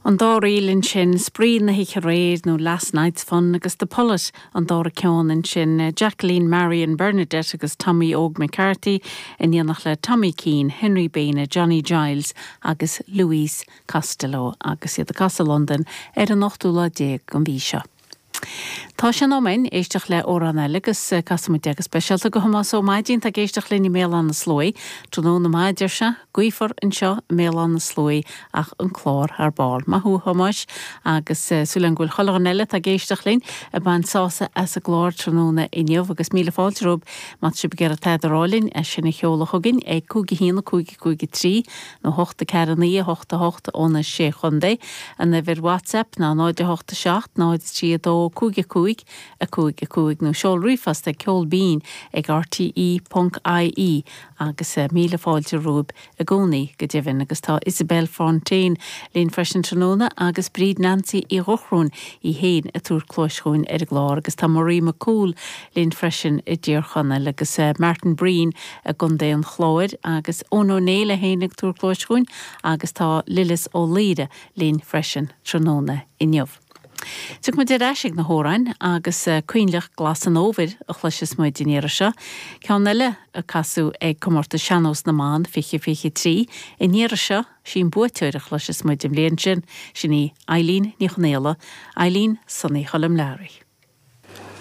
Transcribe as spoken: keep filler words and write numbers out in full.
An dá ríl ansin Spraoi na hoíche aréir nó Last Night's Fun agus The Pullet an dara ceann ansin Jacqueline Marion Bernadette agus Tommy Óg McCarthy in éineacht le Tommy Keane, Henry Baina, Johnny Giles agus Louise Costello agus iad ag casadh Londain ar an ochtú lá déag den mhí seo. Tá sé in am éisteacht le amhrán eile agus casfaimid go speisialta do Thomás Ó Maidín tá ag éisteacht linn i mBéal Átha na Sluaighe, Tráthnóna maith deir sé, gaofar anseo i mBéal Átha na Sluaighe ach an clár thar barr. Maith thú Thomáis agus súil agam go bhfuil chuile dhuine eile tá ag éisteacht linn ag baint sásamh as an gclár tráthnóna inniu agus míle fáilte romhaibh má tá sibh ag iarraidh tada a rá linn é sin a sheoladh chugainn ag cúig a haon a cúig cúig trí nó hocht a ceathair naoi a hocht a hocht ó na sé chontae. An uimhir WhatsApp ná náid a hocht a seacht náid trí a dó cúig a cúig a cúig a cúig nó seol ríomhphost ag ceol binn ag RTE.ie agus míle fáilte romhaibh i gcónaí go deimhin agus tá Isabel Fontaine linn freisin tráthnóna agus Bríd Nancy Uí Dhochróin í féin ag tabhairt cluas dúinn ar an gclár agus tá Marie McCool linn freisin i dTír Chonaill agus Martin Breen i gContae an Chláir agus Eoin Ó Néill féin ag tabhairt cluas dúinn agus tá Lillis Ó Laoire linn freisin tráthnóna inniu. Tiocfaidh muid ar ais ag na hamhráin agus Coinleach Glas an Fhómhair a chloisfeas muid an iarraidh seo. Ceann eile a casadh ag comórtas Sean-Nós na mBan fiche fiche trí. An iarraidh seo sí an buaiteoir a chloisfeas muid an bhliain sin, sin í Eileen Ní Chonaola, Eileen Sonny Choilm Learaí.